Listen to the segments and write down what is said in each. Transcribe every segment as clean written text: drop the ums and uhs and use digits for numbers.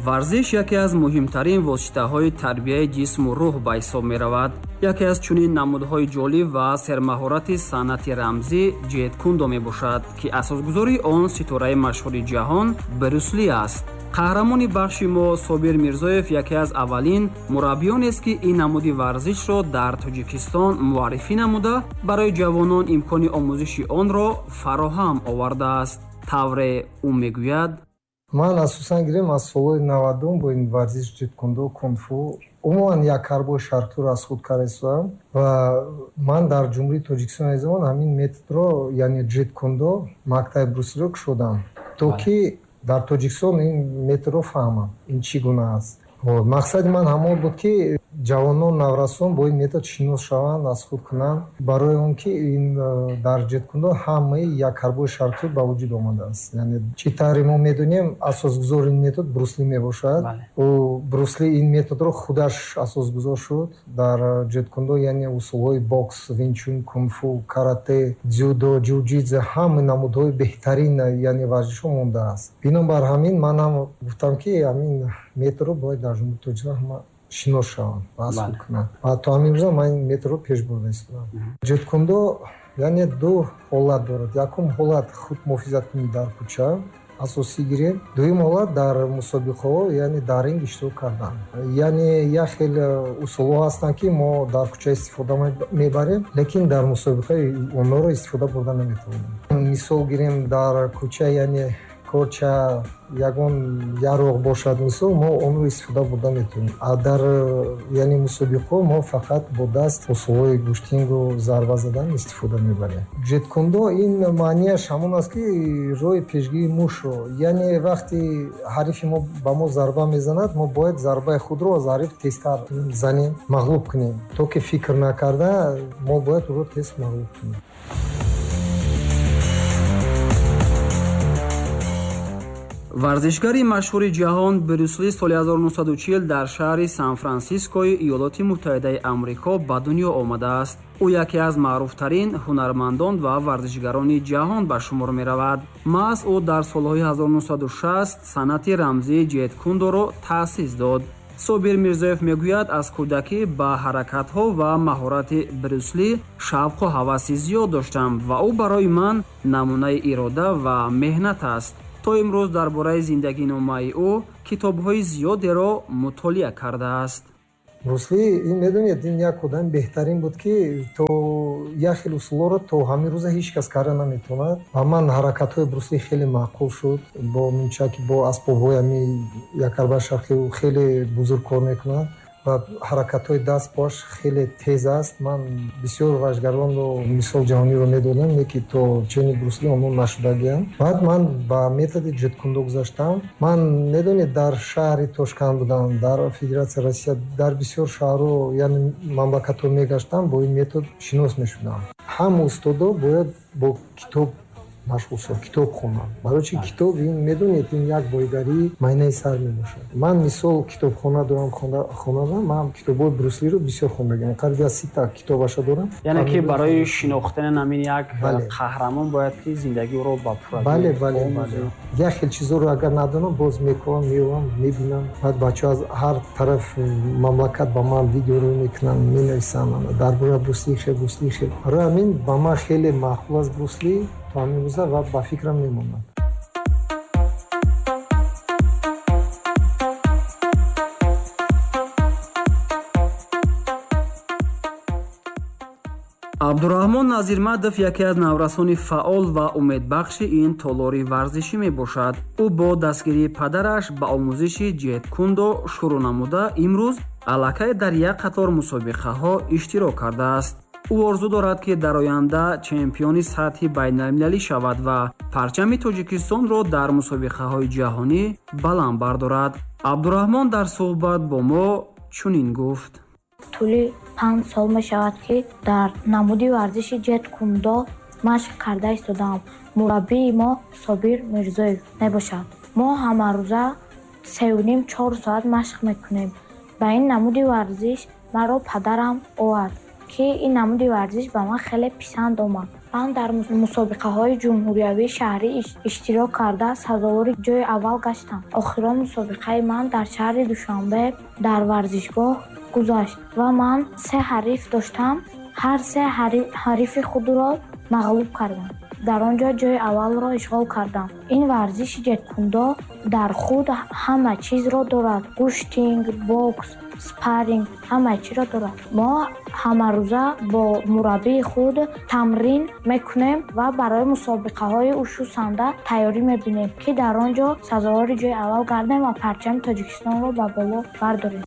Варзиш яке аз муҳимтарин воситаҳои тарбияи ҷисму рӯҳ ба ҳисоб меравад. Яке аз чунин намудҳои ҷолиб ва сермаҳорати санъати рамзӣ ҷеткундо мебошад, ки асосгузори он ситораи машҳури ҷаҳон Брюсли аст. Қаҳрамони бахши мо Собир Мирзоев яке аз аввалин мураббиёнест, ки ин намуди варзишро дар Тоҷикистон муаррифӣ намуда, барои ҷавонон имкони омӯзиши онро фароҳам овардааст. Тавре ӯ мегӯяд: Ман асосан гирем аз солҳои 90 бо ин варзиш ҷеткундо, кунфу, умуман як ҳарбои шарқиро аз худ карда истодам ва ман дар Ҷумҳурии Тоҷикистон айни замон ҳамин методро, яъне ҷеткундо, мактаби Бруслиро кушодам, то ки дар Тоҷикистон ин методро фаҳмам, ин чӣ гуна аст. Мақсади ман ҳамон буд, ки ҷавонон, наврасон бо ин метод шинос шаванд, аз худ кунанд, барои он ки ин дар ҷеткундо ҳамаи як ҳарбои шарқӣ ба вуҷуд омадааст. Яъне чӣ тавре мо медонем, асосгузори ин метод Брусли мебошад. Ӯ Брусли ин методро худаш асосгузор шуд дар ҷеткундо, яъне усулҳои бокс, винчун, кунфу, карате, дзюдо, ҷиу-ҷитсу, ҳамаи намудҳои беҳтарин, яъне варзишҳо мондааст. Бинобар ҳамин ман ҳам гуфтам, ки ҳамин методро бояд дар Ҷумҳурии Тоҷикистон ҳама шинос шаванд ва аз худ кунанд. Ва то ҳамин рӯза ман ин методро пеш бурда истодам. Ҷеткундо яъне ду ҳолат дорад. Якум ҳолат худмуҳофизаткунӣ дар кӯча асосӣ гирем, дуюм ҳолат дар мусобиқаҳо, яъне дар ринг иштирок кардан. Яъне як хел усулҳо ҳастанд, ки мо дар кӯча истифода мебарем, лекин дар мусобиқа онҳоро истифода бурда наметавонем. Мисол гирем, дар кӯча, яъне корча, ягон яроқ бошад, мисол, мо онро истифода бурда метавонем. А дар яъне мусобиқаҳо мо фақат бо даст усулҳои гӯштингу зарба задан истифода мебарем. Ҷеткундо ин маънияш ҳамон аст, ки роҳи пешгирии мушро, яъне вақти ҳарифи мо ба мо зарба мезанад, мо бояд зарбаи худро аз ҳариф тезтар занем, мағлуб кунем, то ки фикр накарда мо бояд ӯро тез мағлуб кунем. Варзишгари машҳури ҷаҳон Брюсли соли 1940 дар шаҳри Сан-Франсискои Иёлоти Муттаҳидаи Амрико ба дунё омадааст. Ӯ яке аз маъруфтарин ҳунармандон ва варзишгарони ҷаҳон ба шумор меравад. Маҳз ӯ дар солҳои 1960 санъати рамзии ҷеткундоро таъсис дод. Собир Мирзоев мегӯяд, аз кӯдакӣ ба ҳаракатҳо ва маҳорати Брюсли шавқу ҳаваси зиёд доштам ва ӯ барои ман намунаи ирода ва меҳнат аст. То имрӯз дар бораи зиндагиномаи ӯ китобҳои зиёдеро мутолиа кардааст. Брусли, ин медонед, ин як одами беҳтарин буд, ки то як хел усулҳоро то ҳамин рӯза ҳеҷ кас карда наметавонад. Ва ман ҳаракатҳои Брусли хеле маъқул шуд. Бо мунчаки, бо асбобҳои ҳамин якарбаи шарқӣ ӯ хеле бузург кор мекунад ва ҳаракатҳои даст поаш хеле тез аст. Ман бисёр варзишгаронро мисол ҷаҳониро медодам, лекин то чени Брусли онҳо нашудагианд. Баъд ман ба методи ҷеткундо гузаштам. Ман медонед, дар шаҳри Тошканд будам, дар Федератсияи Россия, дар бисёр шаҳрҳо, яъне мамлакатҳо мегаштам, бо ин метод шинос мешудам. Ҳама устодо бояд бо китоб машғул шаванд, китоб хонанд. Барои чи китоб ин медонед, ин як бойгарии майнаи сар мебошад. Ман мисол китобхона дорам, хонада, ман китобҳои Бруслиро бисёр хондагиам. Қариб аз 30 китобаша дорам. Яъне ки барои шинохтани ҳамин як қаҳрамон бояд ки зиндагии ӯро ба пуррагӣ Бале, бале, омӯзӣ. бале. Як хел чизоро агар надонам, боз мекунам, меовам, мебинам. Баъд бачаҳо аз ҳар тараф мамлакат ба ман видеоро мекунанд, менависанд дар бораи Брусли хел, Брусли хел. Барои ҳамин ба ман хеле маъқул аст Брусли то ҳамин рӯза ва ба фикрам мемонад. Абдураҳмон Назирмадов яке аз наврасони фаъол ва умедбахши ин толори варзишӣ мебошад. Ӯ бо дастгирии падараш ба омӯзиши ҷеткундо шурӯъ намуда, имрӯз аллакай дар як қатор мусобиқаҳо иштирок кардааст. Ӯ орзу дорад, ки дар оянда чемпиони сатҳи байналмилалӣ шавад ва парчами Тоҷикистонро дар мусобиқаҳои ҷаҳонӣ баланд бардорад. Абдураҳмон дар суҳбат бо мо чунин гуфт: Тӯли 5 сол мешавад, ки дар намуди варзиши ҷеткундо машқ карда истодаам. Мураббии мо Собир Мирзоев мебошад. Мо ҳамарӯза сею ним, чор соат машқ мекунем. Ба ин намуди варзиш маро падарам овард. ки ин намуди варзиш ба ман хеле писанд омад. Ман дар мусобиқаҳои ҷумҳуриявии шаҳрӣ иштирок карда, сазовори ҷои аввал гаштам. Охирон мусобиқаи ман дар шаҳри Душанбе дар варзишгоҳ гузашт ва ман се ҳариф доштам. Ҳар се ҳарифи худро мағлуб кардам. Дар он ҷо ҷои аввалро ишғол кардам. Ин варзиши ҷеткундо дар худ ҳама чизро дорад: гӯштинг, бокс, спарринг, ҳама чиро дорад. Мо ҳамарӯза бо мураббии худ тамрин мекунем ва барои мусобиқаҳои ушу санда тайёрӣ мебинем, ки дар он ҷо сазовори ҷои аввал гардем ва парчами Тоҷикистонро ба боло бардорем.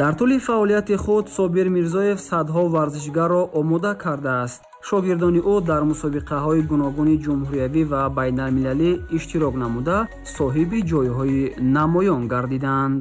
Дар тӯли фаъолияти худ Собир Мирзоев садҳо варзишгарро омода кардааст. Шогирдони ӯ дар мусобиқаҳои гуногуни ҷумҳуриявӣ ва байналмилалӣ иштирок намуда, соҳиби ҷойҳои намоён гардиданд.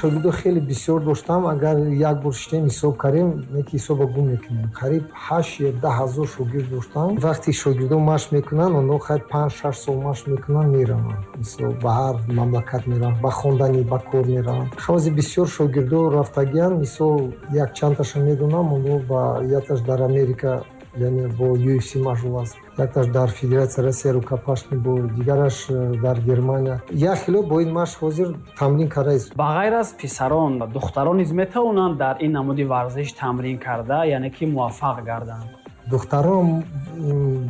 Шогирдо хеле бисёр доштам. Агар як бор шитем ҳисоб кардем, неки ҳисоба гум мекунем. Қариб 8 ё 10 ҳазор шогирд доштам. Вақте шогирдо машқ мекунанд, онҳо хайр 5-6 сол машқ мекунанд, мераванд. Мисол, ба ҳар мамлакат мераванд, ба хонданӣ, ба кор мераванд. Ҳози бисёр шогирдо рафтагианд. Мисол, як чандташа медонам, онҳо ба якташ дар Америка, яъне бо UFC машғул аст, якташ дар Федератсия Россия рукопашный бой, дигараш дар Германия. Як хело бо ин машқ ҳозир тамрин кардааст. Ба ғайр аз писарон, духтарон низ метавонанд дар ин намуди варзиш тамрин карда, яъне ки муваффақ гарданд? Духтарон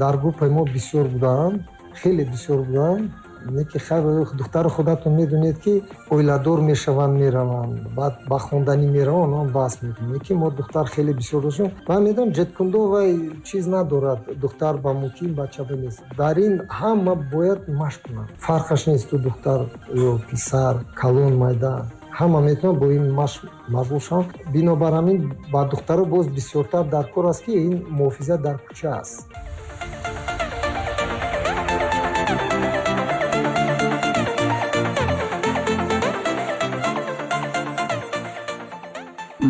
дар группаи мо бисёр буданд, хеле бисёр буданд. Неки хайр, духтари худатон медонед, ки оиладор мешаванд, мераванд, баъд ба хонданӣ мераванд, онҳо бас мекунанд. Неки мо духтар хеле бисёр доштем. Ман медонам, ҷеткундо вай чиз надорад, духтар ба мумкин, бача ба нест. Дар ин ҳама бояд машқ кунанд, фарқаш нест, ту духтар ё писар, калон, майда, ҳама метавонанд бо ин машқ машғул шаванд. Бинобар ҳамин ба духтаро боз бисёртар дар кор аст, ки ин муҳофизат дар кӯча аст.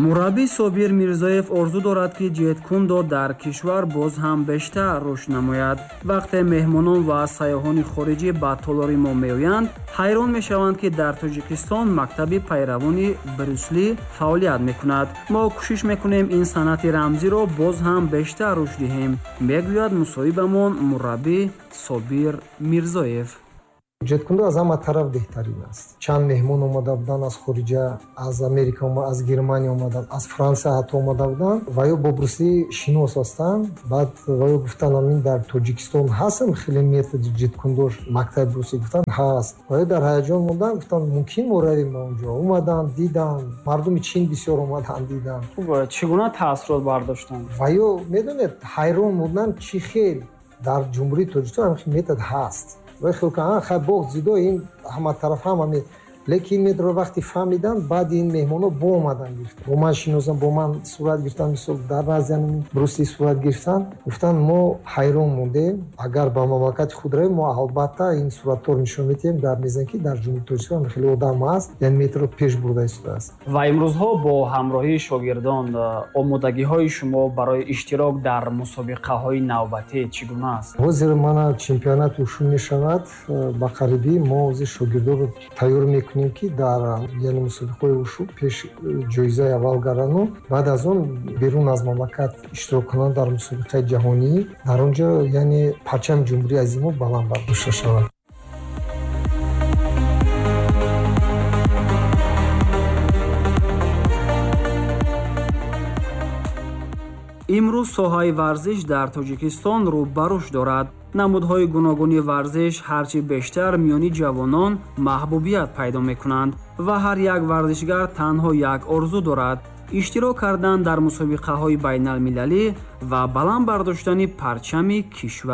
Мураббӣ Собир Мирзоев орзу дорад, ки ҷеткундо дар кишвар боз ҳам бештар рушд намояд. Вақте меҳмонон ва сайёҳони хориҷӣ ба толори мо меоянд, ҳайрон мешаванд, ки дар Тоҷикистон мактаби пайравони Брюсли фаъолият мекунад. Мо кӯшиш мекунем, ин санъати рамзиро боз ҳам бештар рушд диҳем, мегӯяд мусоҳибамон мураббӣ Собир Мирзоев. Ҷеткундо аз ҳама тараф беҳтарин аст. Чанд меҳмон омада буданд аз хориҷа, аз Америка, аз Германия омаданд, аз Франсия ҳатто омада буданд ва ё бо Брусли шинос ҳастанд. Баъд ва ё гуфтанд, амин дар Тоҷикистон ҳастам хеле методи ҷеткундош, мактаби Брусли? Гуфтанд, ҳаст. Ва ё дар ҳаяҷон монданд, гуфтанд, мумкин мо равем ба он ҷо? Омаданд, диданд. Мардуми Чин бисёр омаданд, диданд. Хуб, чӣ гуна таассурот бардоштанд? Ва ё медонед, ҳайрон монданд, чӣ хел дар Ҷумҳурии Тоҷикистон ҳамин метод ҳаст. Вай хел хай бокс, дзюдо, ин ҳама тараф ҳама, лекин методро вақте фаҳмиданд, баъди ин меҳмонҳо бо омадан гирифтанд, бо ман шиносанд, бо ман сурат гирифтанд. Мисол, дар назди Брусли сурат гирифтанд. Гуфтанд, мо ҳайрон мондем, агар ба мамлакати худ равем, мо албатта ин суратҳоро нишон медиҳем, гап мезанем, ки дар Ҷумҳурии Тоҷикистон хеле одам ҳаст, яъне методро пеш бурда истодааст. Ва имрӯзҳо бо ҳамроҳии шогирдон омодагиҳои шумо барои иштирок дар мусобиқаҳои навбатӣ чӣ гуна аст? Ҳозир мана чемпионати ушу мешавад ба қарибӣ. Мо ҳозир шогирдонро тайёр мекунем, ки дар, яъне, мусобиқаҳои ушу пеш ҷоизаи аввал гардану баъд аз он берун аз мамлакат иштирок кунанд дар мусобиқаи ҷаҳонӣ. Дар он ҷо, яъне, парчами ҷумҳурии азими мо баланд бардошта шавад. Имрӯз соҳаи варзиш дар Тоҷикистон рӯ ба рушд дорад. Намудҳои гуногуни варзиш ҳарчи бештар миёни ҷавонон маҳбубият пайдо мекунанд ва ҳар як варзишгар танҳо як орзу дорад: иштирок кардан дар мусобиқаҳои байналмилалӣ ва баланд бардоштани парчами кишвар.